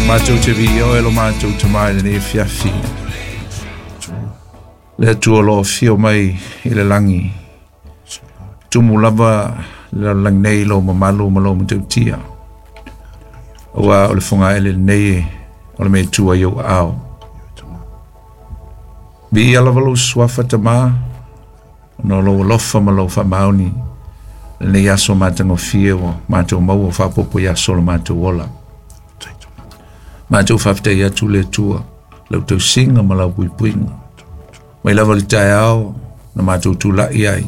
Matou te viia oe lo matou Tama i lenei afiafi. Le Atua o lo o afio mai i le lagi, tumu lava le lalolagi nei i lou mamalu ma lou matautia. Aua o le fogaele lenei o le mea e tua i ou aao. Viia lava lou suafa Tama, ona o lou alofa ma lou faamaoni lenei aso matagofie ua matou maua faaopoopo i aso o le matou ola. Matou faafetai atu le Atua, lau tausiga ma lau puipuiga. Mai lava le taeao na matou tulai ai,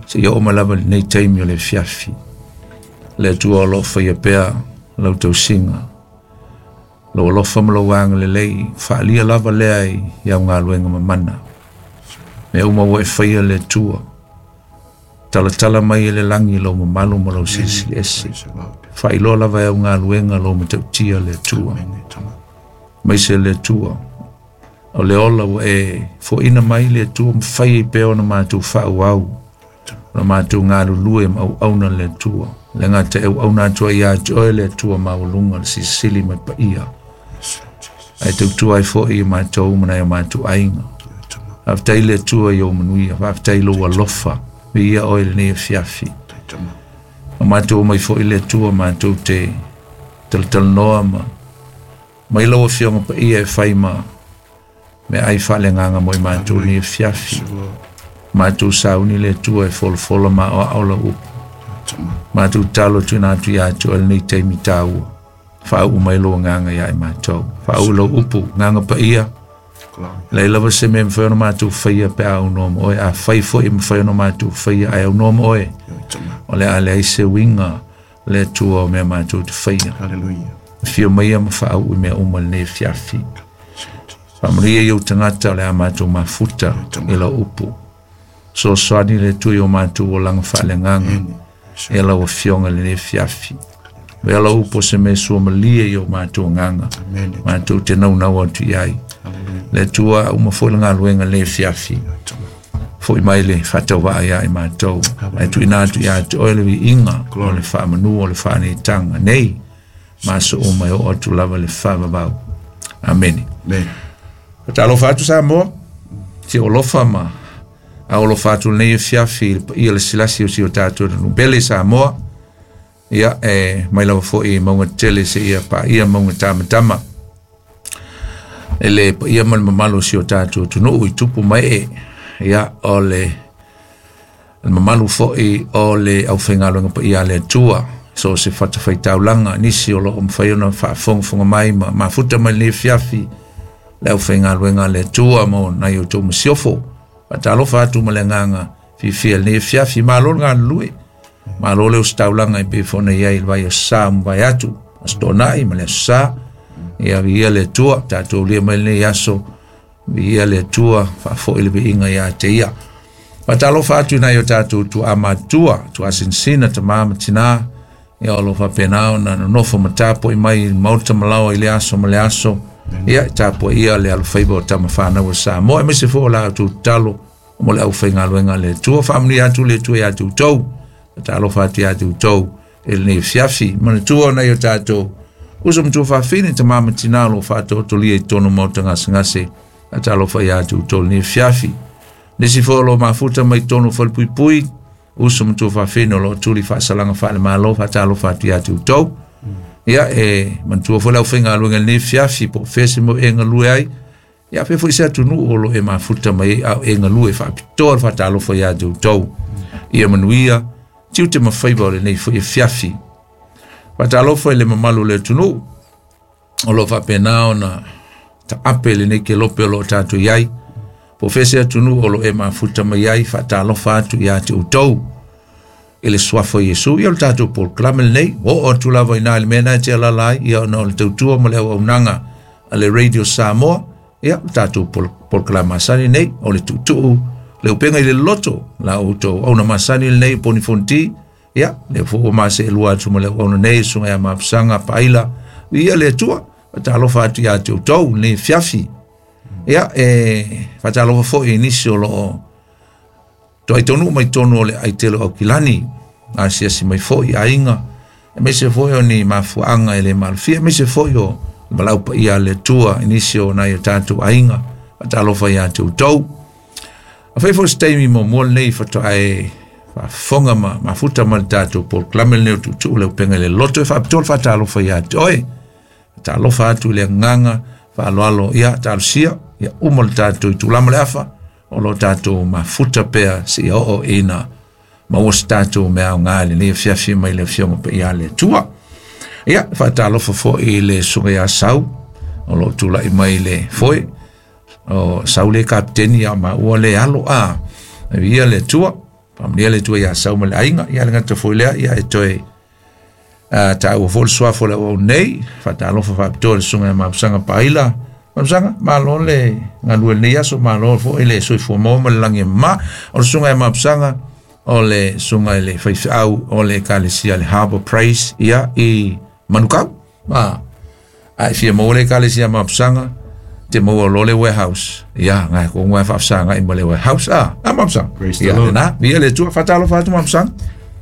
seia oo mai lava i lenei taimi o le afiafi. Le Atua o lo o faia pea lau tausiga, lou alofa ma lou agalelei, faaalia lava lea i au galuega mamana. Mea uma ua e faia le Atua, talatala mai e le lagi lou mamalu ma lou silisili ese. Faailoa lava e au galuega lou matautia le Atua. Maise le Atua, o le ola ua e foaina mai le Atua ma fai ai pea ona matou faaauau, ona matou galulue ma auauna le Atua. Le gata e auauna atu ai ia te oe le Atua maualuga le silisili ma le paia. Ae tautua ai foi i matou ma nai o matou aiga. Faafetai le Atua i ou manuia, faafetai i lou alofa, viia oe i lenei afiafi. O matou omai foi le Atua matou te talatalanoa ma mai lau Afioga Paia e fai ma meaai faaleagaga mo i matou lenei afiafi. Matou sauni le Atua e folafola ma aoao lau upu. Matou tatalo tuuina atu ia te oe lenei taimi taua. Faauu mai lou agaga ia i matou. Faauu lau upu, agaga paia. Leai lava se mea e mafai ona matou faia pe a aunoa ma oe. Afai foi e mafai ona matou faia ae aunoa ma oe, o le a leai se uiga le Atua o mea matou te faia. Afio maia ma faauu i mea uma i lenei afiafi. Faamanuia i ou tagata o le a matou mafuta i lau upu. Fesoasoani le Atua i o matou olaga faaleagaga e lau Afioga i lenei afiafi. Avea lau upu o se mea suamalie i o matou agaga, matou te naunau atu i ai. Le Atua, uma foi le galuega i lenei afiafi. Foi mai le faatauvaa ia i matou. Ae tuuina atu ia te oe le viiga o le faamanu o le faaneetaga nei ma aso uma e oo atu lava le faavavau. Amene. Faatalofa atu Samoa, si olofa ma aolofa atu lenei afiafi i le paia le silasi o si o tatou atunuu pele Samoa. Ia, e mai lava foi i mauga tetele seia paia mauga tamatama. E le paia ma le mamalu o si o tatou atunuu i tupu ma ee. Ia, o le mamalu foi o le aufaigaluega paia a le Atua, so o se fatafaitaulaga, nisi o lo o mafai ona faafogafoga mai ma mafuta mai lenei afiafi le aufaigaluega a le Atua mo nai o outou masiofo. Faatalofa atu ma le agaga fiafia i lenei afiafi. Malo le galulue, malo le ositaulaga e pei foi ona i ai i le vai o sa ma vai atu, Aso Toonai ma le Aso Sa. Ia, viia le Atua, tatou lia mai lenei aso, viia le Atua, faafoi le viiga ia te ia. Faatalofa atu i nai o tatou tuaa matutua, tuaa sinasina, tama ma tina, ia o lo o faapena ona nonofo ma tapuai mai i le maota malaoa i le aso ma le aso. Ia, e tapuaia le alofaiva o tama fanau a Samoa, aemaise foi o la outou tatalo mo le aufaigaluega a le Atua. Faamanuia atu le Atua ia te outou. Faatalofa atu ia te outou i lenei afiafi. Manatua nai o tatou uso ma tuafafine, tama ma tina o lo o faatoatolia i totonu o maota gasegase. Faatalofa ia te outou i lenei afiafi. Nisi foi o lo o mafuta mai totonu o falepuipui, uso ma tuafafine o lo o tuli faasalaga faale-Malo, faatalofa atu ia te outou. Ia, e manatua foi le aufaigaluega i lenei afiafi, po o fea se mea e galue ai, ia pea foi se atunuu o lo o e mafuta mai ai, a o e galue faapitoa le faatalofa ia te outou. Ia manuia tiute ma faiva o lenei foi afiafi. Faatalofa i le mamalu o le atunuu o lo o faapena ona taape lenei kelope o lo o tatou i ai. Po o fea se atunuu o lo o e mafuta mai ai, faatalofa atu ia te outou i le suafa o Iesu. Ia o le tatou polokalame lenei, ua oo atu lava i ina i le mea lena e te alaala ai, ia ona o le tautua ma le auaunaga a le Radio Samoa, ia o le tatou polokalame masani lenei, o le tuutuu, le upega i le loto, la outou auauna masani lenei, Poni Fonoti, ia, lea foi ua maseelua atu ma le auauna nei, Susuga ia Mapusaga Paaila, viia le Atua, faatalofa atu ia te outou lenei afiafi. Ia, e faatalofa foi i nisi o lo o toai taunuu mai totonu o le aitele o Aukilani, asiasi mai foi i aiga, aemaise foi o ni mafuaaga e le malofia, aemaise foi o Valaau paia a le Atua i nisi o nai o tatou aiga, faatalofa iā te outou. Afai foi se taimi muamua lenei faatoa e faafofoga ma mafuta ma le tatou polokalame lenei o Tuutuu le Upega i le Loto, e faapitoa le faatalofa ia te oe. Faatalofa atu i le agaga faaaloalo, ia talosia ia uma le tatou itula ma le afa o lo tatou mafuta pea seia oo ina maua se tatou mea aoga i lenei afiafi mai le Afioga Paia a le Atua. Ia, faatalofa foi i le Susuga ia Sau o lo o tulai mai le foe. O Sau le kapiteni ia maua le alo a. Ia le Atua, faamanuia le Atua ia Sau ma le aiga. Ia le gata foi lea, ia e toe taua foi le suafa o le auau nei. Faatalofa faapitoa i le Susuga ia Mapusaga Paila. Mapusaga, malo le galue lenei aso, malo foi le soifua maua ma le lagi e mama. O le Susuga ia Mapusaga, o le susuga i le faifeau o le Ekalesia le Harbour Praise ia i Manukau. A e fia maua le Ekalesia Mapusaga, te maua lo le warehouse. Ia, ngai ko ngā whaafsanga i ma le warehouse. A Mapusaga. Praise the Ia, Lord. nā, ia le Atua, faatalofa atu Mapusaga.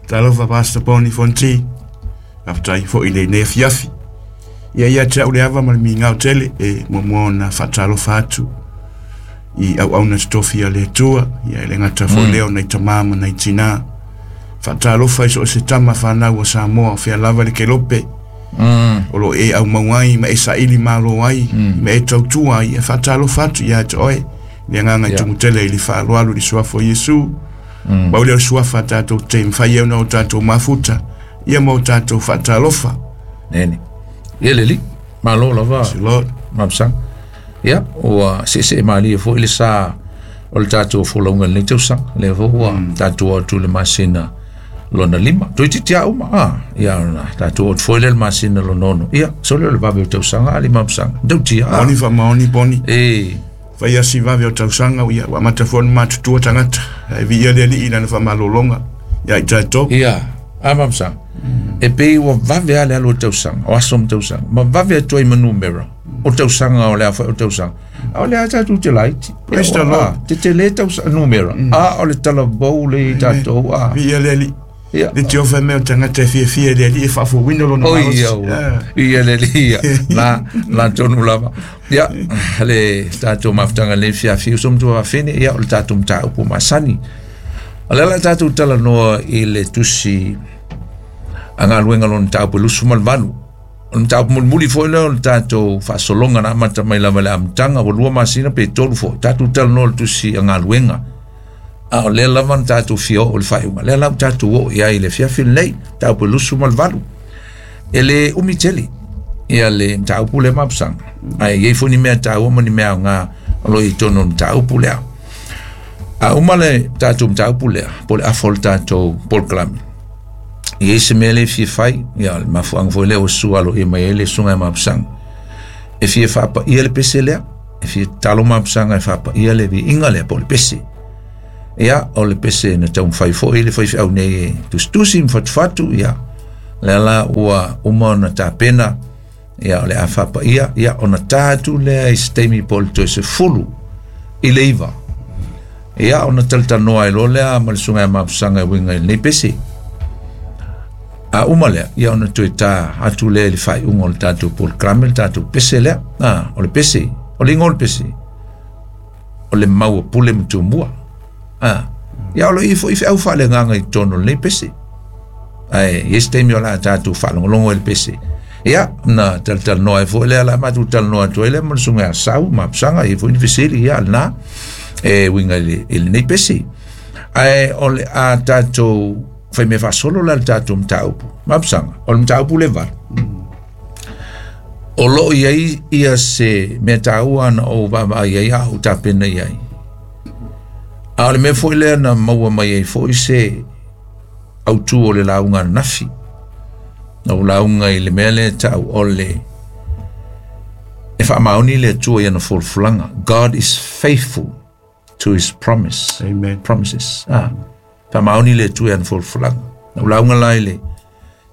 Talofa Pastor Poni Fonti. Faafetai foi i lenei afiafi. Ia ia te au le ava ma le migao tele e muamua ona faatalofa atu i auauna totofi a le Atua, ia e le gata foi lea o nai tamā ma nai tinā. Faatalofa i so o se tama whanau o Samoa o fea lava le kelope. O lo e aumau ai ma e saili malo ai, ma e tautua ai, e faatalofa atu ia te oe. Le agaga i tumutele i le faaaloalo i le suafa o Iesu. Mau lea o le suafa a tatou te mafai ai ona o tatou mafuta, ia ma o tatou faatalofa. Nene. Ia le li, malo lava. Praise the Lord. Mapusaga. Ia, ua seesee malie foi le sa o le tatou folauga i lenei tausaga. Lea foi ua tatou atu i le masina lona 5. Toeitiiti lava uma, ia ona tatou atu foi lea i le masina lona 6. Ia, sole o le vave o tausaga a le Mapusaga. Tautia, Maoni faamaoni poni. E. Fai asi vave o tausaga, ia, ua amata foi ona matutua tagata. Ae viia le Alii i lana faamalologa ia i tatou. Ia, a Mapusaga. E pei ua vave lava le alu o tausaga, o aso ma tausaga. Ma vave atu ai ma numera o tausaga o le a foi o tausaga. A o le a tatou te laiti. Praise the Lord. Te tele tausaga numera. A o le talavou le i tatou. Viia le Alii. Ia. Le te ofa mea o tagata e fiafia i le Alii e faafouina lona Oi, malosi. ia, ua. Ia le Alii, ia. La tonu lava. Ia, le tatou mafutaga le fiafia uso matua wafine, ia, o le tatou mataupu masani. O le ala tatou talanoa i le tusi a galuega lona mataupu e 28. O le mataupu mulimuli foi lea o le tatou faasologa na amata mai lava i le amataga, ua 2 masina pe 3 foi. Tatou talanoa i le tusi a galuega. A o lea lava na tatou fia oo i le faaiuga. Lea la ua tatou oo i ai i le afiafi lenei, mataupu e 28. E le umi tele ia le mataupu lea Mapusaga. Ae i ai foi ni mea taua ma ni mea aoga o lo o i totonu o le mataupu lea. A uma le tatou mataupu lea, po o le afa o le tatou polokalame, i ai se mea le fia fai, ia, le mafuaaga foi lea ua sua aloaia mai ai le susuga ia Mapusaga. E fia faapaia le pese lea, e fia tatalo Mapusaga e faapaia le viiga lea po o le pese. Ia, o le pese na taumafai foi le faifeau nei e tusitusi ma fatufatu, ia, lea la ua uma ona tapena, ia, o le a faapaia, ia, ona ta atu lea i se taimi po o le toe 10 i le 9. Ia, ona talatalanoa ai loa lea ma le susuga ia Mapusaga e uiga i lenei pese. A uma lea, ia ona toe ta atu lea i le faaiuga o le tatou polokalame, le tatou pese lea. O le pese, o le igoa o le pese, o le mau a Pule ma Tumua. Ia, o lo o i ai foi feau faaleagaga i totonu o lenei pese. Ae i ai se taimi o le a tatou faalogologo i le pese. Ia, na talatalanoa ai foi lea, la matou talanoa atu ai lea ma le susuga ia Sau Mapusaga, i ai foi ni fesili, ia, lena, e uiga i lenei pese. Ae o le a tatou fai mea faasolo la le tatou mataupu. Mapusaga, o le mataupu le 8. O lo o i ai ia se mea taua na ou vaavaai ai a ou tapena i ai. A o le mea foi lea na maua mai ai foi se autu o le lauga ananafi. Na ou lauga i le mea lea tau o le e faamaoni le Atua i ana folafolaga. God is faithful to his promise. Amen. Promises. Faamaoni le Atua i ana folafolaga. Na ou lauga la i le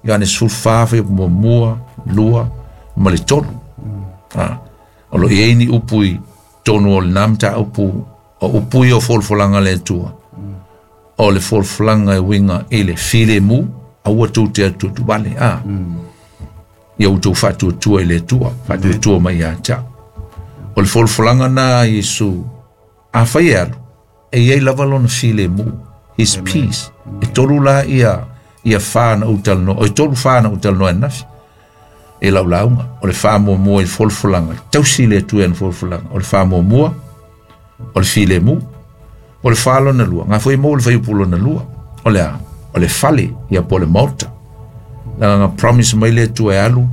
Ioane 14, fai muamua, 2, ma le 3. O lo o i ai ni upu i tonu o lena mataupu, o upu ia o folafolaga le Atua. O le folafolaga e uiga i le filemu, aua tou te atuatuvale. Ia outou faatuatua i le Atua, faatuatua mai ia te au. O le folafolaga lena a Iesu, afai e alu, e i ai lava lona filemu, his peace. E tolu la ia ia fa na ou talanoa, o e tolu fa na ou talanoa ananafi e lau lauga. O le faamuamua i le folafolaga, tausi le Atua i ana folafolaga. O le faamuamua, o le filemu. O le fa lona lua, ngā foi mo le fuaiupu lona lua. O le a? O le fale, ia po o le maota. Leaga na promise mai le Atua e alu,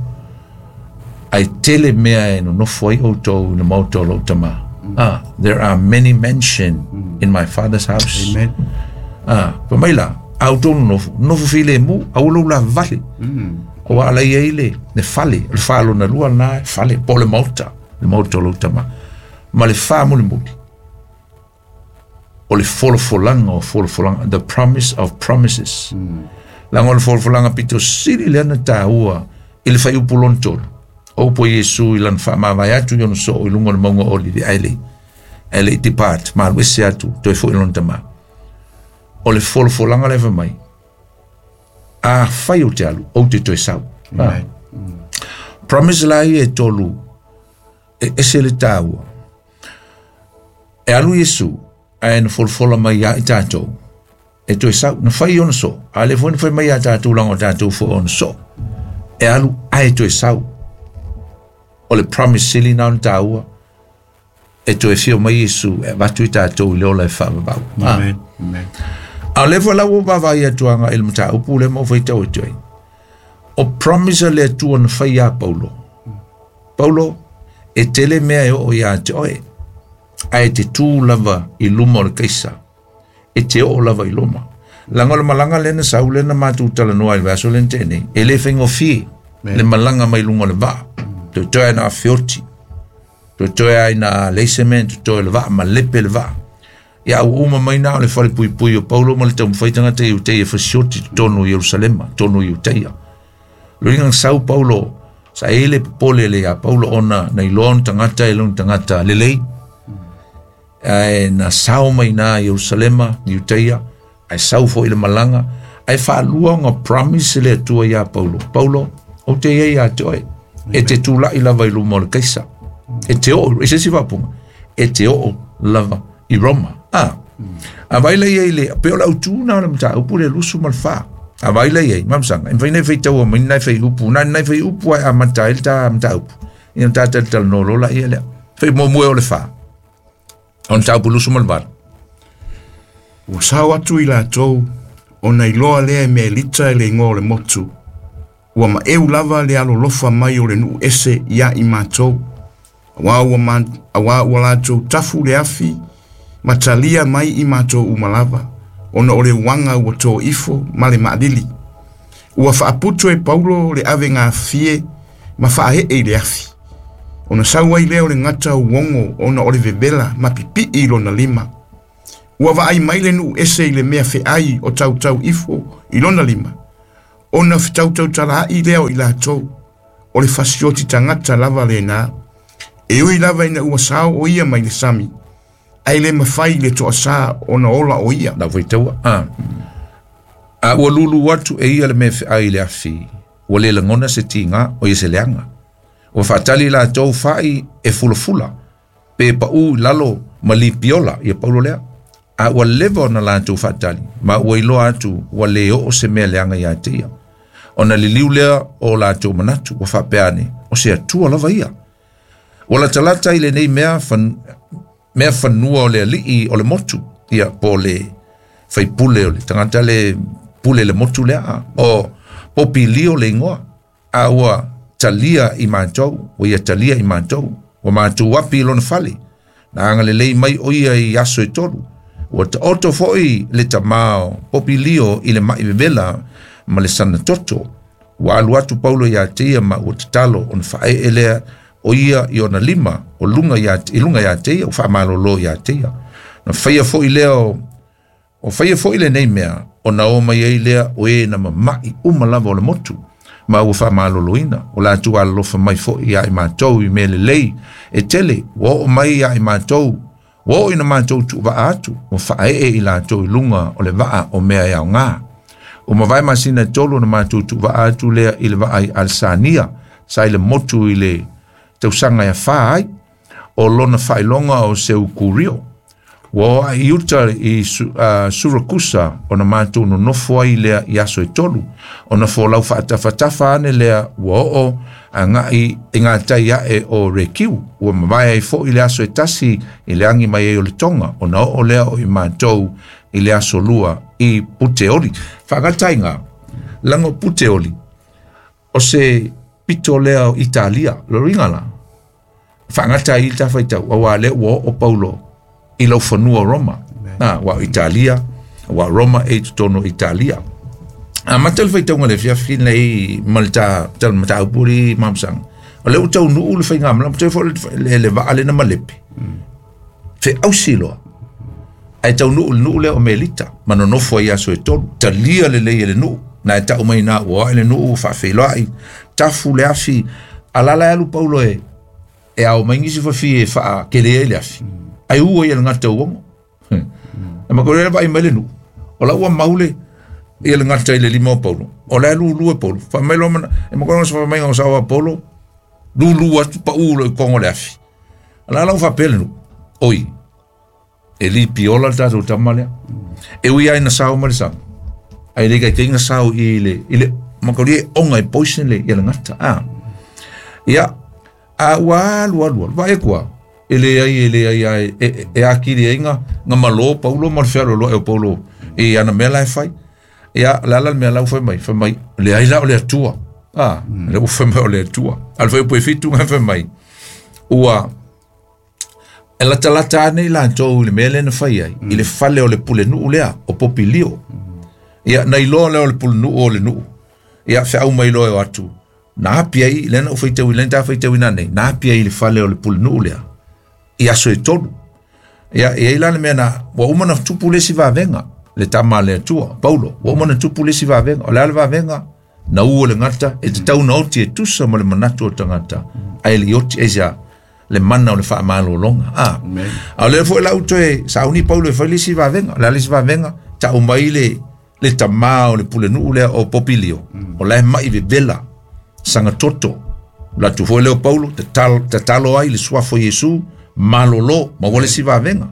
ae tele mea e nonofo ai outou i le maota o lou tama. Ah, there are many mansion in my father's house. Amen. Ah, fai mai la, a outou nonofo, nonofo filemu, aua lou lavavale. Aua ala i ai le, le fale, o le fa lona lua lena, fale, po o le maota, le maota o lou tama. Ma le fa mulimuli, o le folafolaga o folafolaga, the promise of promises. Leaga o le folafolaga pito sili lea na taua i le fuaiupu lona tolu. O upu a Iesu i lana faamavae atu i ona soo i luga o le mauga o Olivi, ae le ae le i depart, ma alu ese atu, toe foi i lona tama. O le folafolaga lea fai mai, afai ou te alu, ou te toe sau. Amen. Promise la ia e tolu, e ese le taua. E alu Iesu, ae na folafola mai ia i tatou, e toe sau, na fai ona soo, a le foi na fai mai ia tatou leaga o tatou foi ona soo. E alu ae toe sau. O le promise sili na ona taua, e toe fio mai Iesu e avatu i tatou i le ola e faavavau. Amen. Amen. A o lea foi la ua vaavaai atu agai i le mataupu lea ma ou faitau atu ai. O promise a le Atua na fai ia Paulo. Paulo, e tele mea e oo ia te oe, ae te tū lava i luma o le Kaisa. E te oo lava i Roma. Leaga o le malaga lea na sau lea na matou talanoa i le vaiaso lea na tea nei, e le faigofie le malaga mai luga o le vaa. Toetoe lava ina feoti, toetoe lava ina leai se mea e totoe o le vaa, malepe le vaa. Ia ua uma mai na o le falepuipui o Paulo ma le taumafai tagata Iuteia e fasioti i totonu o Ierusalema, totonu o Iuteia. Loiga na sau Paulo, sa i ai le popole le ia Paulo ona na iloa ona tagata e lona tagata lelei. Ae na sao mai na Ierusalema, Iuteia, ae sau foi le malaga, ae faalua ona promise le Atua ia Paulo. Paulo, ou te i ai ia te oe. E te tulai lava i luma o le Kaisa. E te oo, e se isi faaupuga, e te oo lava i Roma. A, a vaai la i ai le, pe o le autu na o le mataupu le 24. A vaai la i ai, mamasanga, e mafai ona e faitaua mai ni nai fuaiupu, na o ni nai fuaiupu lava e amata ai le ta mataupu. Ia ona ta talatalanoa loa laia lea. Fai muamua e o le fa. O le mataupu 28. Ua sao atu i latou, ona iloa lea e Melita i le igoa o le motu. Ua maeu lava le alolofa mai o le nuu ese ia i matou, aua ua, ma, aua ua latou tafu le afi ma talia mai i matou uma lava, ona o le uaga ua tō ifo ma le maalili. Ua faaputu e Paulo le avegafie ma faaee i le afi. Ona sau ai lea o le gata uogo ona o le vevela ma pipii i lona lima. Ua vaai mai le nuu ese i le mea feai o tautau ifo i lona lima, ona fetautautalaai lea o i latou, o le fasioti tagata lava lena. E ui lava ina ua sao o ia mai le sami, ae le mafai i le toasā ona ola o ia. Lau faitaua, a. A ua lulu atu e ia le mea feai i le afi, ua le lagona se tiga, o ia se leaga. Ua faatali latou fai e fulafula, pe paʻū i lalo ma lipiola, ia Paulo lea. A ua leva ona latou faatali, ma ua iloa atu ua le oo se mea leaga ia te ia. Ona liliu lea o latou manatu, ua faapea ane, o se Atua lava ia. Ua latalata i lenei mea, fan, mea fanua o le alii o le motu, ia po o le faipule o le tagata le pule le motu lea, o Popilio le igoa. A ua talia i matou, ua ia talia i matou, ua matou api i lona fale. Na agalelei mai o ia i aso e tolu. Ua taoto foi le tamā o Popilio i le ma'i vevela ma le sana toto. Ua alu atu Paulo ia te ia ma ua tatalo ona faaee lea o ia i ona lima o luga ia, i luga ia te ia, ua faamalolo ia te ia. Na faia foi lea o O faia foi lenei mea, ona o mai ai lea o e na mama'i uma lava o le motu, ma ua faamaloloina, ua latou alolofa mai foi ia i matou i mea lelei e tele, ua oo mai ia i matou, ua oo ina matou tuuvaa atu, ua faaee i latou i luga o le vaa o mea e aoga. Ua mavae masina e tolu ona matou tuuvaa atu lea i le vaa i Alesania, Sa i le motu i le tausaga e 4 ai o lona faailoga o Seukurio. Ua oo ae i uta i Surakusa ona matou nonofo ai lea i aso e 3. Ona folau faatafatafa ane lea ua oo agai i gatai ae o Rekiu. Ua mavae ai foi le aso e 1 i le agi mai ai o le toga. Ona oo lea o i matou i le aso 2 i Puteoli. Faagataina, laga o Puteoli, o se pito lea o Italia, loringa la. Faagata ai le tafaitau, aua lea ua oo Paulo i laufanua Roma. Na, ua Italia, ua Roma e totonu Italia. A mata le faitauga le fiafi nei ma le ta mataupu li mamsang. O le utau nuu le fainga mala, te fo le vaa le na malepe. Fe ausi loa. Ai tau nuu le nuu le o Melita, manonofo ai aso e 3. Talia le lei le nuu. Na e tau mai na ua le nuu faafeiloai. Tafu le afi, alala alu Paulo e au mai ngisi fafi e faa kele ai le afi. Ai ua ia le ngata uongo. E makore vai mai le nuu. O la ua maule ia le ngata i le lima o Paulo. O le lulu e Paulo. Fa mai lo mana, e makore sa mai ngau sa Paulo. Lulu atu pa ulo i kongo le afi. Ala la ufa pele nu. Oi. E li piola le tatou tama lea. E ui ai na sao ma le sao. Ai le kai tinga sao i le makore e onga e poison le ia le ngata. Ah. Ia a ua alu alu. Vai kua. Ele ai e akiri ai nga malo Paulo ma le fealo lo e Paulo e ana mela e fai. Ia la la mea lau fai mai le ai la o le atua. Ah, le u fai mai o le atua. Al fai po fitu nga fai mai. Ua e lata lata nei la tou le mele na fai ai i le fale o le pule nuu lea o Popilio. Ia nei lo le o le pule nuu o le nuu. Ia fe au mai lo e atu. Na apia i le na u fai tau i le ta fai tau ina nei. Na apia i le fale o le pule nuu lea. Ia so e tolu. Ia e ila le mea na ua uma na tupu le si vavenga le tama le atua Paulo ua uma na tupu le si vavenga o le ale vavenga na ua le ngata e te tau na oti e tusa ma le manatu o tangata ai le oti e sia le mana o le faamalologa. Ah, a le foi la uto e sauni Paulo e fai le si vavenga le ale si vavenga ta umai le tama o le pule nuu lea o Popilio o la mai vevela sangatoto la tu foi le o Paulo te talo ai le suafo Iesu malolo ma wale si vavenga.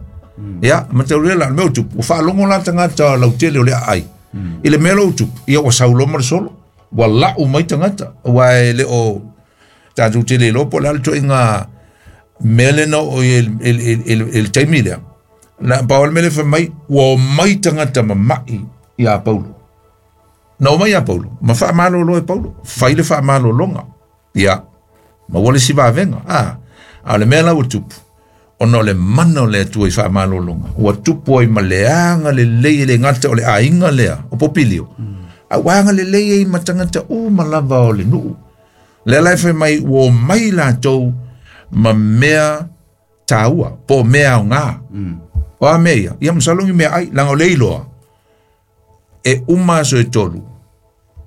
Ia ma te ule la me utu o faalogo la tangata lau tele o le ai. I le mea lo utu ia ua saulo ma le solo ua lau mai tangata ua e le o tatou tele lo po le ale toʻiga mea lena o i le taimi lea na pau le mea le fai mai ua o mai tagata mamaʻi iā Paulo. Na o mai iā Paulo ma faamalolo e Paulo fai le faamalologa ia ma ua le si vavenga. A le mea la ua tupu ona o le mana o le Atua i faamalologa ua tupu ai ma le aga lelei e le gata o le aiga lea o Popilio. A ua aga lelei ai ma tagata uma lava o le nuu. Lea la e fai mai ua o mai latou ma mea taua po mea aogā. O a mea ia ia masalogi mea ai laga o le iloa e uma aso e 3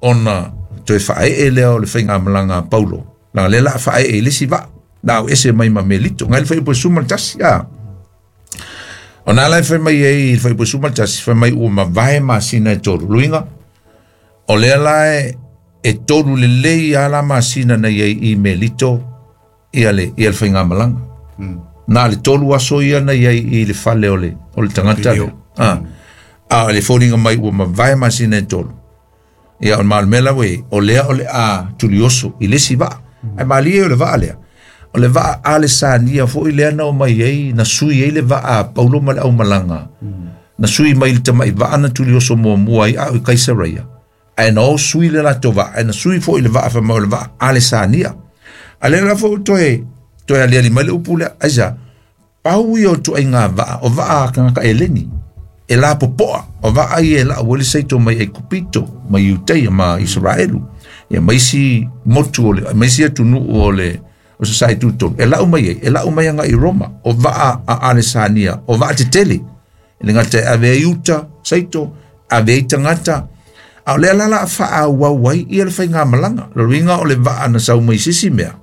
ona toe faaee lea o le faigamalaga a Paulo. Laga lea la faaee i le isi vaa na au ese mai ma Melito ngai le fai po suma le tasi. O na la fai mai ai le fai po suma le tasi fai mai ua mavae masina e 3 luinga o lea la e 3 lelei a la masina na iai i Melito ia le faigamalaga. Na le 3 aso ia na iai i le fale o le tagata. A le foliga mai ua mavae masina e 3 ia o malmela we o lea o le a tulioso i le si vaa. Ai malie o le vaa lea o le vaa Alessania foi lea na o mai ai na sui ai le vaa a Paulo ma le aumalaga. Na sui mai le tamaʻi vaa na tulioso muamua ai a o i Kaisareia. Ae na o sui le latou vaa ae na sui foi le vaa fai mai o le vaa Alessania. A lea la foi toe aliali mai le upu lea aisa pau ia o tuaiga vaa o vaa a tagata eleni e la popoa o vaa ia e laʻau ai le saito mai Aikupito mai Iuteia ma Isaraelu ia ma isi motu o le ma isi atunuu o le o se sai tutonu e lau mai ai e lau mai aga i Roma o vaa a Alessania o vaa tetele e le gata e ave ai uta saito ave ai tagata a o lea la la faaauau ai ia le faigamalaga lo luiga o le vaa na sau mai sisi mea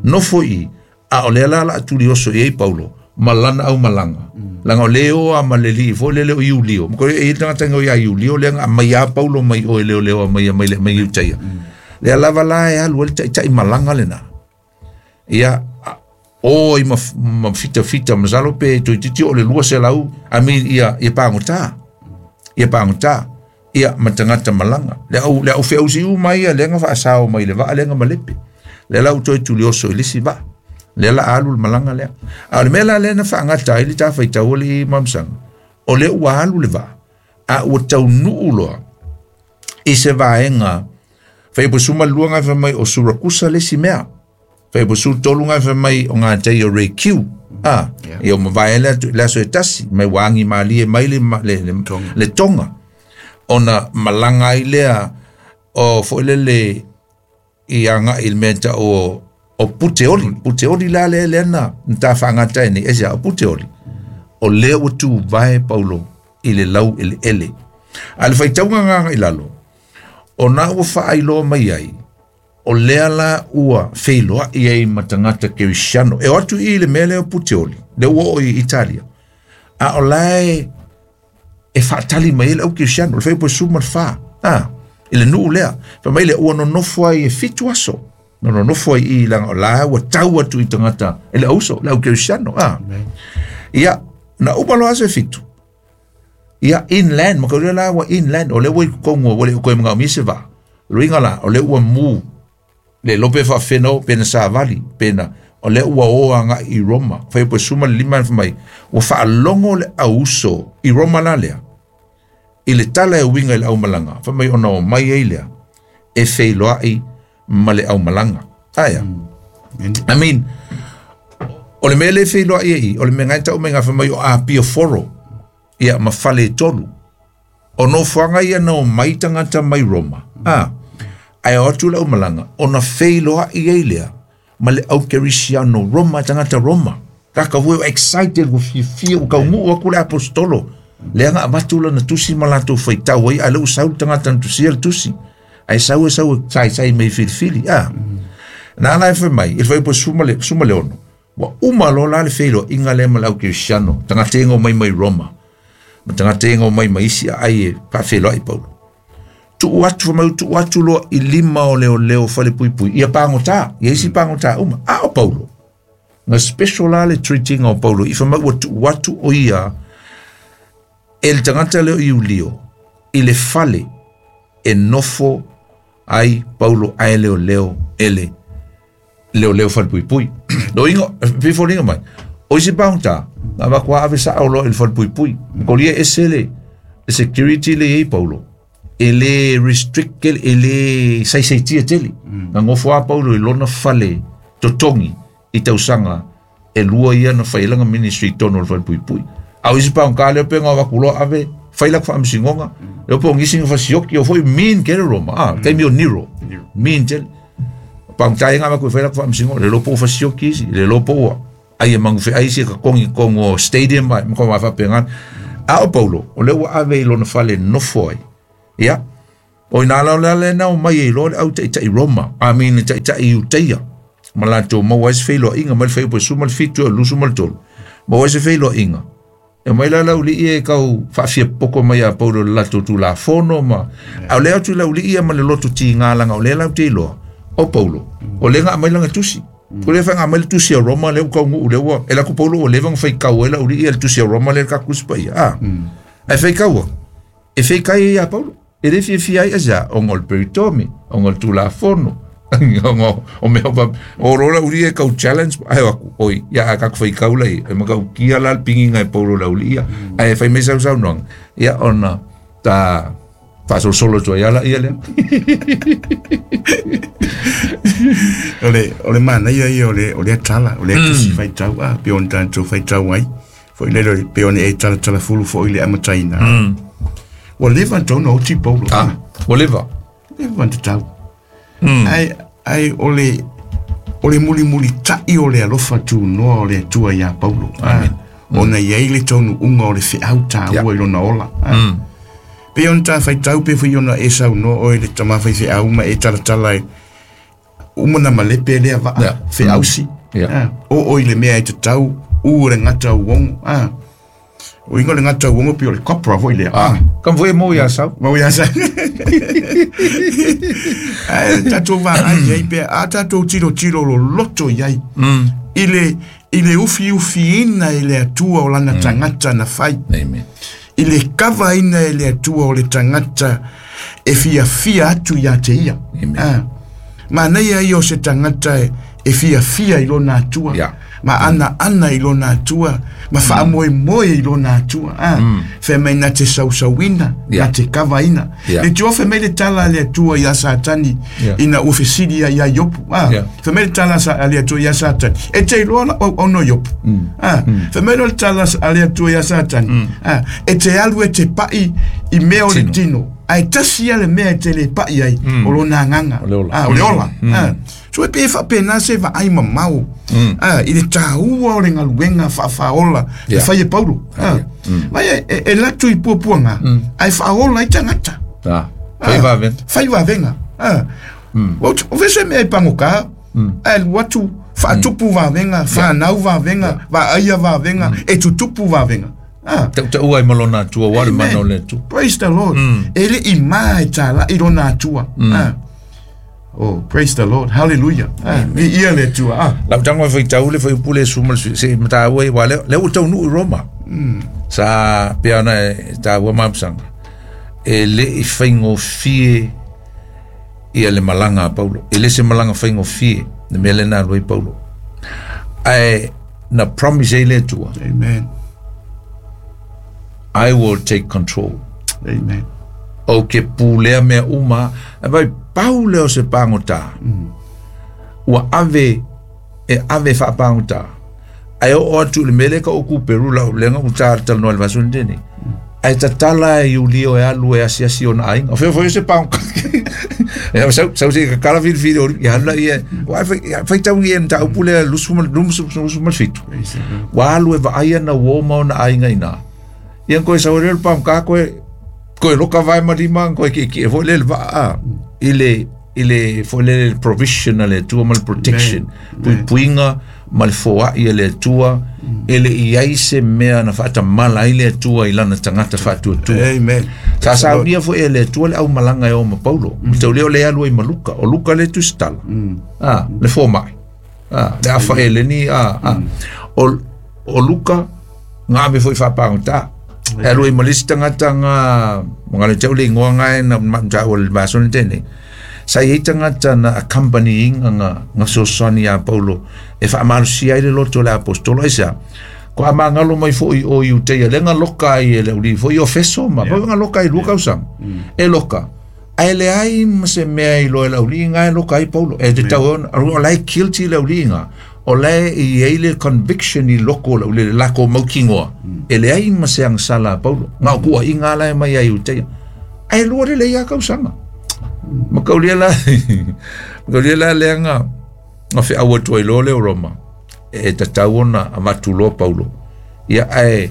nofo i a o lea la la tulioso i ai Paulo ma lana au malaga langa o le o a ma le lii foi lele o Iulio ma ko e tagata ngo ia Iulio le nga mai a Paulo mai o le o le mai mai le mai Iutaia. Lea lava la e alu ai le ta'ita'i malaga lenā ia o i ma fitafita masalo pe toeitiiti o le 200 I mean ia ia pagotā ia pagotā ia ma tagata malaga le au feausi uma ia lea na faasao mai le vaa lea na malepe lea la ua toe tulioso i le isi vaa lea la alu le malaga lea a o le mea la lea na faagata ai le tafaitau alii ma masaga o lea ua alu le vaa a ua taunuu loa i se vaega faiapo 12 gafa mai o Surakusa le isi mea faiapo 13 gafa mai o gatai o Rekiu a ia o mavae le aso e tasi mai ua agi malie mai le Tonga ona malaga ai lea o fo'i lele i aga'i i le mea ta'u o Puteoli Puteoli la lea lea na tafaagata ai nei aisea o Puteoli o lea ua tuvae Paulo i le lau eleele a le faitauga agaga i lalo ona ua faailoa mai ai o lea la ua feiloa'i ai ma tagata kerisiano e o atu i le mea lea o Puteoli lea ua oo i Italia a o lae e faatali mai ai le au kerisiano le 14 a i le nuu lea fai mai le ua nonofo ai e 7 aso na nonofo ai i laga o la ua tau atu i tagata e le auso le au kerisiano a ia na uma loa aso e 7 ia inland ma ka la ua inland o le ua i totonu ua le koe magaomia se vaa luiga la o le ua mu le lope faafeno pena savali pena o le ua o aga'i i Roma 15 fai mai ua faalogo le auso i Roma la lea i le tala e uiga i le aumalaga fai mai ona o mai ai lea e feiloa'i ma le aumalaga aia I mean o le mea le feiloa'i ai o le mea gai ta'u mai gafa mai o Apia Foro ia ma fale tolu o nofoaga ia na o mai tagata mai Roma a ae o atu le aumalaga ona feiloa'i ai lea ma le au kerisiano Roma tagata Roma kaka ua excited ua fiafia ua kauguu aku le apostolo lea na avatu lana tusi ma latou faitau ai a le ua sau le tagata na tusia le tusi ae sau e sau e saisai mai filifili a na ala e fai mai i le 16 ua uma loa la le feiloaiga lea ma le au kerisiano tagata e mai mai Roma ma tagata e mai mai isi aai e faafeiloai Paulo tuu atu fai mai tuu atu loa i lima o leoleo fale puipui ia pagotā ia isi pagotā uma a o Paulo na special la le treating o Paulo i fai mai ua tuu atu o ia e le tagata lea o Iulio i le fale e nofo ai Paulo ae leoleo e le leoleo fale puipui loiga fifoliga mai o isi pagotā na avaku ave sa'o loa i le fale puipui kolia ese le security le iai Paulo e le restrict e le saisaitia tele na gofo a Paulo i lona fale totogi i tausaga e lua ia na fai laga ministry i totonu o le fale puipui a o isi pagotā lea pe ga avaku loa ave fai laku faamasinoga lea po o nisi na fasioki o foi mean kele Roma a taimi o Nero mean tele pagotā ia ga avaku e fai laku faamasinoga le lo po o fasioki isi le lo po ua ai e magufe'ai isi e kakogi totonu o stadium ai ma ka faapegana a o Paulo o lea ua ave i lona fale nofo ai ia o ina la le le na o mai e loa le au ta'ita'i Roma I mean le ta'ita'i Iutaia ma latou maua ai se feiloaiga mai le 17 e 23 maua ai se feiloaiga e mai la laulii e kau faafia poko mai a Paulo le latou tulafono ma a o lea atu i laulii ia ma le loto tigā laga o lea lau te iloa o Paulo o lea ga aumai laga tusi o lea faiga mai le tusi a Roma lea ua kauguu lea ua e laku Paulo ua leva ona faitau ai laulii ia le tusi a Roma lea le tatou tusi paia a ae faitaua e feikai ai iā Paulo e lē fiafia ai asia ona o le peritome ona o le tulafono ona o mea o lo laulii e kau challenge ae o aku oi ia a tatou faitau lai e matautia la le pigiga e Paulo laulii ia ae fai mai sausaunoaga ia ona ta faasolosolo atu ai ala ia lea O le manaia ia o lea tala, o lea tusi faitau a, pe ona tatou faitau ai. Foi lele pe ona e talatala fulu foi le amataina. Ua leva ona tatau ona oti Paulo. A ua leva. Leva ona tatau. Ai o le mulimuli ta'i o le alofa tunoa o le Atua iā Paulo. Amen. Ona i ai le taunuuga o le feau tāua i lona ola. Pe ona ta faitau pe foi ona e saunoa oe le tama faifeau ma e talatala e uma na malepe lea vaa feausi. O o i le mea e tatau u le gata uogo. O inga le gata uogo pei o le copra foi lea. Ah, kam foi mo ia sau. Mau ia sa. Ae tatou vaai ai pe a tatou tilotilo loloto i ai. I le ufiufiina e le Atua o lana tagata na fai. Amen. I le kavaina e le Atua o le tagata e fiafia atu ia te ia. Amen. Ah. Manaia ia o se tagata e fiafia i lona Atua. Yeah. Ma ana i lona Atua, ma faamoemoe i lona Atua. Ah. Fai mai na te sausauina, Yeah. na te kavaina. Yeah. Le tio fai mai le tala a le Atua ia Satani, Yeah. ina ua fesili ai ia Iopu. Ah. Yeah. Fai mai le tala a le Atua ia Satani, e te iloa la au au Iopu. Ah. Fai mai le tala a le Atua ia Satani. Ah. E te alu e te pai i mea o le Tino. tino. Ae tasi ia le mea e te le pai ai, o lona agaga. O le ola. Ah, o le ola. Ah. So e pe faapena se vaai mamao. Ah, i le tāua o le galuega faafāola e Yeah. fai e Paulo. Ah. Vai e latu i puapuaga, ae faaola ai tagata. Ah. Fai vave. Fai vavenga. Ah. O vese mea i pagokā, ae alu atu faatupu vavenga, whanau vavenga, vaaia vavenga, e tutupu vavenga. Ah. Tau tau ai malona atua wa le Amen. mana o le Atua. Praise the Lord. E le i mā e tāla i lona Atua. Ah. Oh, praise the Lord. Hallelujah. Ah, vi ia le Atua. Ah. Lau tango fai tau le fai upule suma se mata ua wa le le u tau nu i Roma. Sa pia na e ta ua mamsanga. E le i faigofie ia le malanga a Paulo. E le se malanga faigofie le mea lena alu ai Paulo. Ae na promise ai le Atua, Amen. I will take control. Amen. O ke pulea mea uma, e vai pau leo se pāngotā. Ua ave, e ave whaapāngotā. Ai o atu le mele ka o kuperu lau lenga u tā talanoa le vasuni tēnei. Ai tatala e iulio e alu e asiasi ona aiga. O feo se pāngotā. E sau sau se kakala whiri whiri o ia halu ia. Wa whai tau i e ta upu lea lusu ma lusu lusu ma fitu. Praise the Lord. Wa alu e vaai ana uo ma ona aiga ina. Ia koe sau le pam ka koe koe loka vai ma lima koe ki ki e foi le va a i le foi le provision a le Atua ma le protection puipuiga ma le foa'i a le Atua e le i ai se mea na faatamala ai le Atua i lana tagata faatuatua. Amen. Sa saunia foi e le Atua le aumalaga e o ma Paulo. Mm. Tau lea o le alu ai ma Luka. O Luka le tusitala. Ah, le fōma'i. Ah, le afa e leni. Ah, ah. O Luka, ngā ave foi faapagotā. E alu ai ma le isi tagata nga, mga le tau le ingoa ngae na ma o le vasone tēnei. Sa i ai tagata na accompanying nga fesoasoani iā Paulo e faamalosia ai le loto o le apostolo ai sea. Ko a mangalo mai foi o Iuteia, le nga loka ai e le uli foi o Feso ma, yeah. Nga loka ai lua kausaga. E loka. Ae le ai ma se mea i loa e le auliiga e loka ai Paulo. E te tau ona, o lae guilty le auliiga. O lae i ai le conviction i loko o le uli, le lako maukigoa. E le ai ma se agasala a Paulo. Nga o kuaiga la e mai ai Iuteia. Ae lua le lei a kausaga. Ma kaulia la, ma kaulia la lea nga feau atu ai loa le o Roma. E tatau ona avatu loa Paulo. Ia ae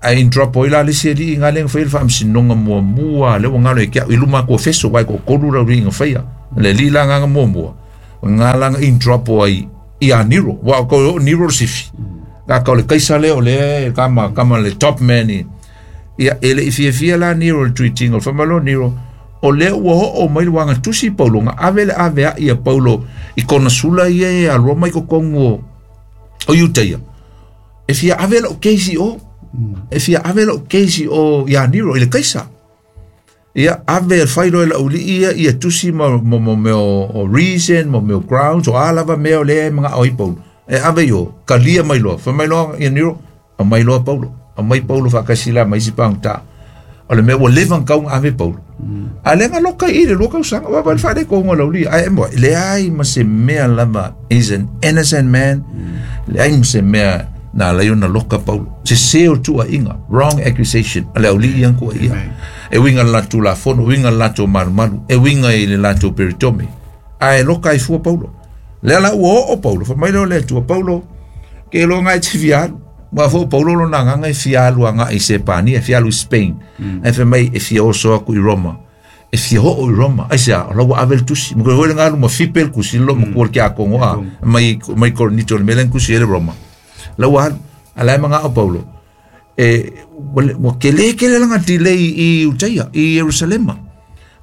ae indropo ai la le isi aliiga lea na faia le faamasinoga muamua lea ua galo ai ke au i luma atu o Feso uae toatolu le auliiga faia. Le alii la agaga muamua, ga laga indropo ai ia Nero. Ua o o Nero le sifi. Ka o le kaisa lea o lea kama kama le top man i. Ia e le i fiafia la Nero le tuitiga o le faamalo Nero. O lea ua oo mai le uagatusi Paulo ga ave le aveaʻi a Paulo i kona sula ia e aloa mai kokogu o Iutaia. E fia ave la'u keisi o. E fia ave la'u keisi o iā Nero i le kaisa. Ia ave e fai loa e la'uli'i ia ia tusi ma ma mea o reason, ma mea o grounds, o a lava mea o lea e maga'o ai Paulo. E ave i o, kalia mai loa, fai mai loa ia Nero, aumai loa Paulo. Aumai Paulo faakasi la ma isi pagotā. O le mea ua leva ona tau ave Paulo. A le loka i le lua kausaga, ua wale whaare ko ngā lauli. Ai mo, le ai ma se mea lava, is an innocent man. Le ai ma se mea na lai ona loka Paulo. Se se o tua inga, wrong accusation. A le auli ian kua ia. E winga le latou la fono, winga le latou malumalu, e winga i le latou peritome. A e loka i fua Paulo. Lea la ua oo Paulo, fa mai leo le tua Paulo, ke lo ngai te fialu. Ua fo Paulo lo na nganga e fialu anga i Sepania, fialu i Spain. E fa mai e fia oso aku i Roma. E fia hoo i Roma. Ai sea, o lau ave le tusi. Mo koe ngalu ma fipe le kusi, lo ma kua le kia kongo a, mai Korinito le melen kusi ele Roma. Lau alu, ala e manga o Paulo. E ua kelē tele lana delay i Iutaia i Ierusalema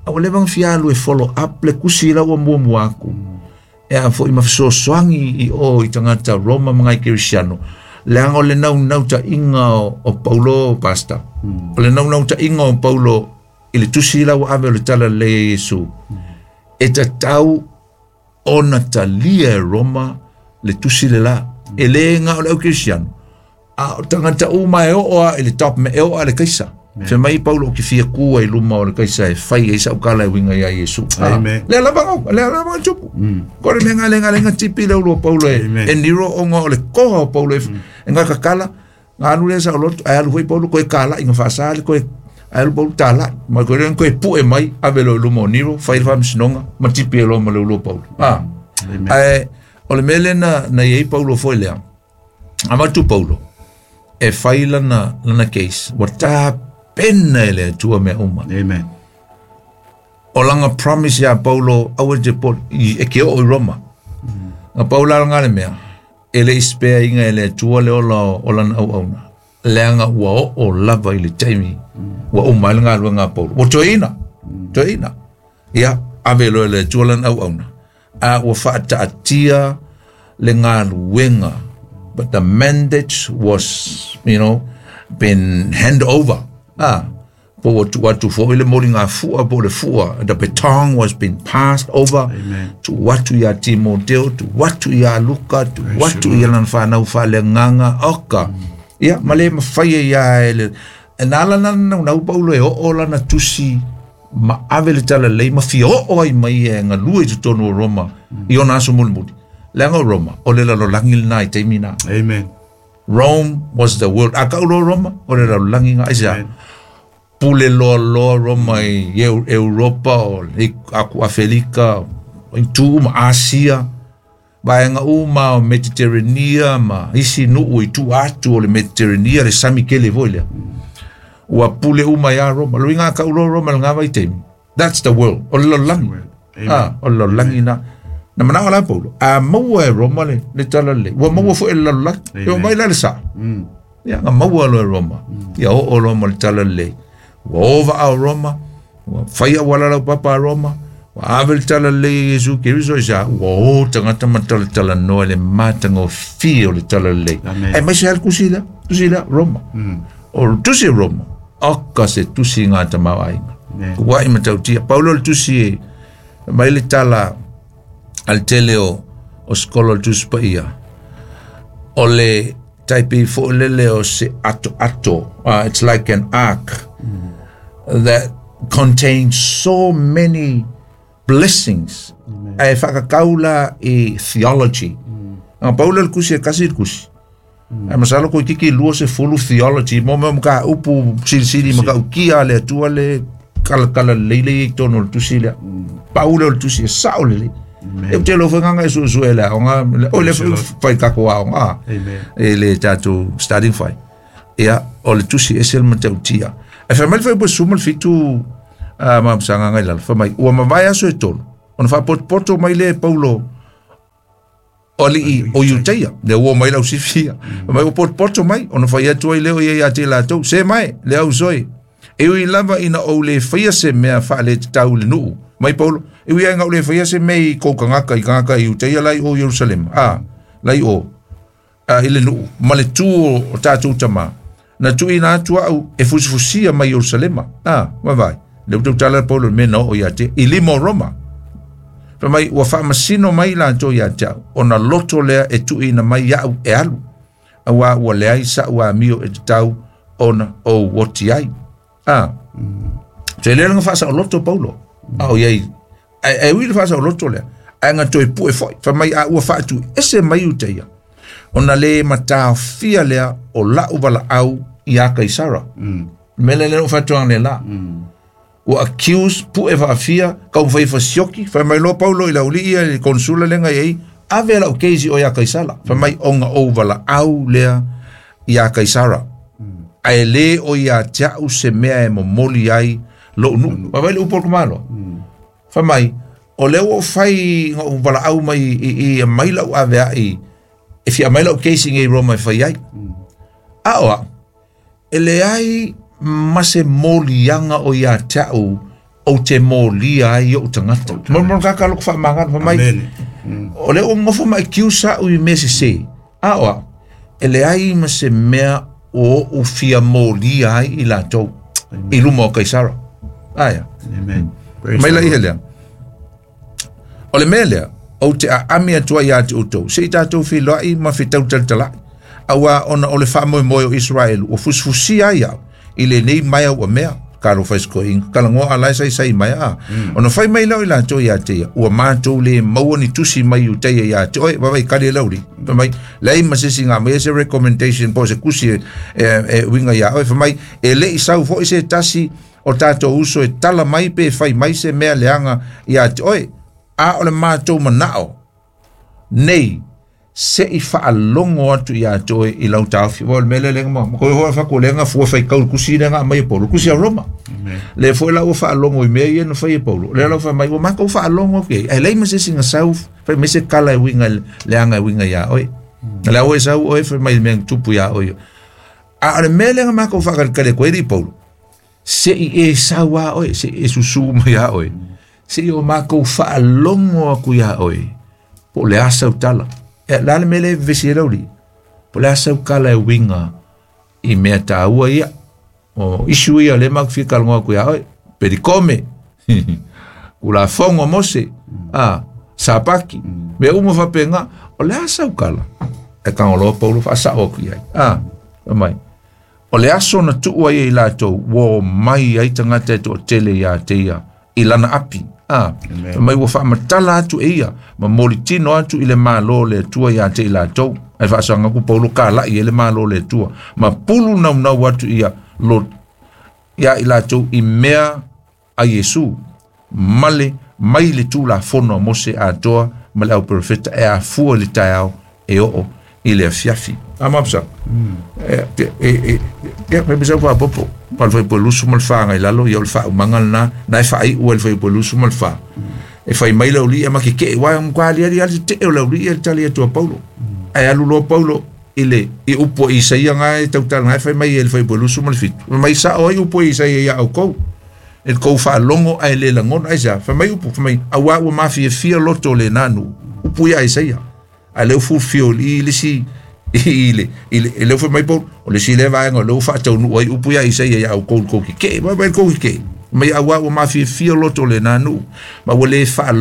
a ua leva ona fia alu e follow up le tusi la ua muamua atu e a foi ma fesoasoani i o i tagata Roma ma nai Kerisiano leaga o le naunautaiga o Paulo pastor o le naunautaiga o Paulo i le tusi la ua ave o le tala lelei a Iesu e tatau ona talia e Roma le tusi le la. E le ga o le au Kerisiano a o tagata uma e oo a i le top me e oo a le Kaisa. Fe mai Paulo ki fia kua i luma o le Kaisa e fai e sa ukala e winga ia Iesu. Amen. Le lava le lava tupu. Ko le nga le nga le nga tipi le ulo Paulo e e niro o nga o le koha o Paulo e nga kakala nga alu le sa o loto ai alu foi Paulo ko e kala inga fasali ko e ai alu Paulo tala ma ko le ko e pu e mai ave lo luma o niro fai le faamasinoga ma tipi e loa ma le ulo Paulo. Ah. Ae o le mea lea na i ai Paulo foi lea avatu Paulo e fai lana lana case ua tapena e le Atua mea uma. Amen. O langa promise ia Paulo aua te po e ke oo i Roma. Nga Paulo ala le mea e le ispea inga e le Atua le ola o lana auauna. Leaga ua oo lava i le taimi ua uma ai le galuega a Paulo. Ua toeaina, toeaina. Ia, ave loa e le Atua lana auauna. A ua faataatia le galuega. But the mandate was, you know, been hand over. Ah, po ua tuu atu foi le moligafua po o le fua. The baton was been passed over. Amen. Tuu atu ia Timoteo, tuu atu ia Luka, tuu atu ia lana whanau whaaleagaga oka. Ia, ma le mafai e ia e le e na ala na naunau Paulo e oo lana tusi ma ave le talalelei ma fia oo ai mai e galue i totonu o Roma i ona aso mulimuli. Leaga o Roma, o le lalolagi lena i taimi na. Amen. Rome was the world. A kau loa Roma, o le lalolagi nga aisea. Pule loa loa Roma i Europa, o le aku Afelika, i tu uma Asia, vaega uma o Mediterranea ma isi nuu i tua atu o le Mediterranea le sami tele foi lea. Ua pule uma ia Roma. Lo inga kau loa Roma le ngā vaitaimi. That's the world. O le lalolagi. Ah, o le lalolagi na. Na manao la Paulo. A maua e Roma le, le talalelei. Ua maua foi e le lalolagi. E o mai la le sa. Ia, nga maua loa e Roma. Ia oo loa ma le talalelei. Ua ova a Roma. Ua fai auala laupapa a Roma. Ua ave le talalelei e Iesu Keriso i sa. Ua o tagata ma talatalanoa i le matagofie o le talalelei. Amen. Aemaise lava le tusi lea, tusi lea, Roma. O le tusi o Roma, oka se tusi i gā tamaoaiga. Ua i matautia. Paulo le tusi e mai le tala a le tele o o sikolo o le Tusi Paia. O le taipi foi lele o se ato ato. It's like an ark that contains so many blessings. Ae faakakau la i theology. Aga Paulo le kusi e kasi le kusi. Ae masalo ko kiki lua se fulu theology mo mea maka upu silisili maka ukia le Atua le kala kala leile i tonu o le tusi lea. Paulo o le tusi e sao lelei. E te lo whanganga e su e le aonga, o le whai kako aonga. Amen. E le tātou starting fai. Ia, o le tusi e se le matautia. E whai mai le whai po suma le fitu ma msanga ngai lalo. Whai mai, ua mavae aso e tolu. Ona whapotopoto mai le Paulo o alii o Iutaia. Le ua mai lau sifia. Mai ua potopoto mai, ona whai atu ai leo ia ia te latou. Se mai, le au soe. E ui lava ina ou le whaia se mea wha le te tau le nuu. Mai Paulo, e ui ai ngau le whaia se mea i kou kangaka i kangaka i Iutaia lai o Jerusalem. Ah, lai o. Ah, i le nuu. Ma le tū o tātou tama. Na tui na atu au e fusifusia mai Jerusalema. Ah, vai vai. Le utau tala Paulo me na o ia te. I lima o Roma. Fa mai, ua faamasino mai latou ia te au, ona loto lea e tuuina mai iaʻu e alu. Auā ua leai saʻu amio e tatau ona ou oti ai. A. Se le nga faasaoloto Paulo. A o iai. E ui le faasaoloto lea. Ae ga toe pue foi. Fa mai a ua faatu ese mai Iutaia. Ona le mataofia lea o lau valaau ia Kaisara. Me le le o faatoaga le la. Ua accuse pue faafia kau fai fasioki fai mai loa Paulo i le aualii ia i le konsula lega i ai ave lau keisi o ia Kaisala. Fai mai ona ou valaau lea ia Kaisara. Ae lē o ia te a'u se mea e momoli ai lo'u nuu. Vaivai le upu o le tamaloa. Fai mai o lea ua ou fai ga ou valaau mai i mai lau avea'i e fia mai lau keisi i Roma e fai ai. A o a'u e E leai ma se moliaga o iā te a'u ou te molia ai o'u tagata. Mo mo kaka loko faamagalo fai mai. Amene. O lea ua gofo ma accuse a'u i mea sesē, a o a'u e leai ma se mea o o'u fia molia ai i latou i luma o Kaisara. Aia. Amen. Praise Mai the la ia Lord. lea. O le mea lea, ou te aami atu ai ia te outou, se i tatou feiloai ma fetautalatalai. Auā ona o le faamoemoe o Iseraelu, ua fusifusia ai au i lenei maea ua mea, talofa i se toeaina, talanoa a la e saisai mai a. Ona fai mai lea o i latou ia te ia, ua matou le maua ni tusi mai Iutaia ia te oe, vaavaai kali e le aualii. Fai mai, leai ma se isi na aumaia se recommendation po o se tusi e uiga ia oe. Fai mai, e le i sau foi se tasi o tatou uso e tala mai pe fai mai se mea leaga ia te oe. A o le matou manao nei, se i faalogo atu iā te oe i lau taofi. Ua o le mea lea lenga ma koe hoa fako lenga fua fai kau kusi lenga mai e Paulo, kusi a Roma. Le foi la ua faalogo i mea ia na fai e Paulo. Le la fa mai ua matou faalogo ke. Ai lei ma se singa sau fai mai se kala e winga leanga e winga ia oe. Le au e sau oe fai mai mea tupu ia oe. A o le mea lea na matou faakalikali atu ai i Paulo. Se i e sau a oe, se i e susū mai a oe. Se i o matou faalogo atu iā oe. Po o le a sau tala. E la le mea lea e vevesi ai le aualii. Po o le a sau tala e uiga i mea taua ia. O issue ia o lea matou te fia talanoa atu iā oe. Pelikome, Tulafono a Mose, a, Sapati, mea uma faapena. O le a sau tala? Ae tago loa Paulo faasao atu i ai. A, fai mai. O le aso na tuu ai e i latou, ua omai ai tagata e toatele iā te ia i lana api, ā, fai mai ua faamatala atu e ia ma molitino atu i le Malo o le Atua iā te i latou. Ae faasaga atu Paulo kalaʻi ai le Malo o le Atua, ma pulu naunau atu ia lo iā i latou i mea a Iesu, male mai le Tulafono a Mose atoa ma le Auperofeta e afua i le taeao e oo i le afiafi. A mapsa. E e e e pe bisa fa popo. Pa fai po lusu ma le fa ngai lalo ia o le fa umanga na na e fa i u le fai po lusu ma le fa. E fai mai le uli e ma ke ke wa ngwa ali ali ali te o le uli e tali atu a Paulo. Ae alu loa Paulo i le i upu a Isaia nga e tautala nga e fai mai e le fai po lusu ma le fitu. Fai mai sao ai upu a Isaia ia oukou. E le kou faalogo ae le lagona. Aisea? Fai mai upu, fai mai, auā ua mafiafia loto o lena nuu. Upu ia a Isaia. Ae lea ua fulfill i le isi i le i le lea ua fai mai Paulo, o le isi lea vaega o lea ua faataunuu ai upu ia a Isaia ia oukou i le kou kekeʻe. Vaai mai le kou kekeʻe. Fai mai, auā ua mafiafia loto o lena nuu, ma ua le faa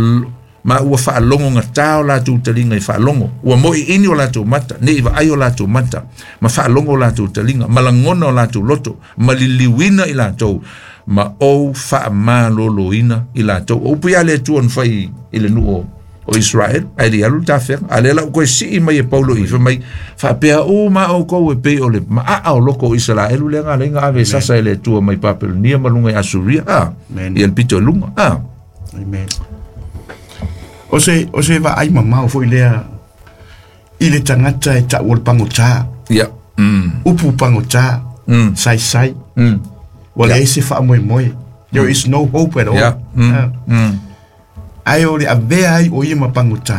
ma ua faalogogata o latou taliga i faalogo, ua moʻiʻini o latou mata, ne i vaai o latou mata, ma faalogo o latou taliga, ma lagona o latou loto, ma liliuina i latou, ma ou faamaloloina i latou. O upu ia a le Atua na fai i le nuu o Israel, ae le i alu le tafeaga. A lea la ua toe sii mai e Paulo i, fai mai, faapea uma outou e pei o le maaa o loko o Isaraelu lea na ala ai ona ave e sasa e le Atua mai Papelonia ma luga i Asuria, a, ia le pito i luga, a. Amen. O se vaai mamao foi lea i le tagata e ta'u o le pagotā. Ia. Upu pagotā, saisai. Ua leai se faamoemoe. There is no hope at all. Ia. Ae o le avea ai o ia ma pagotā.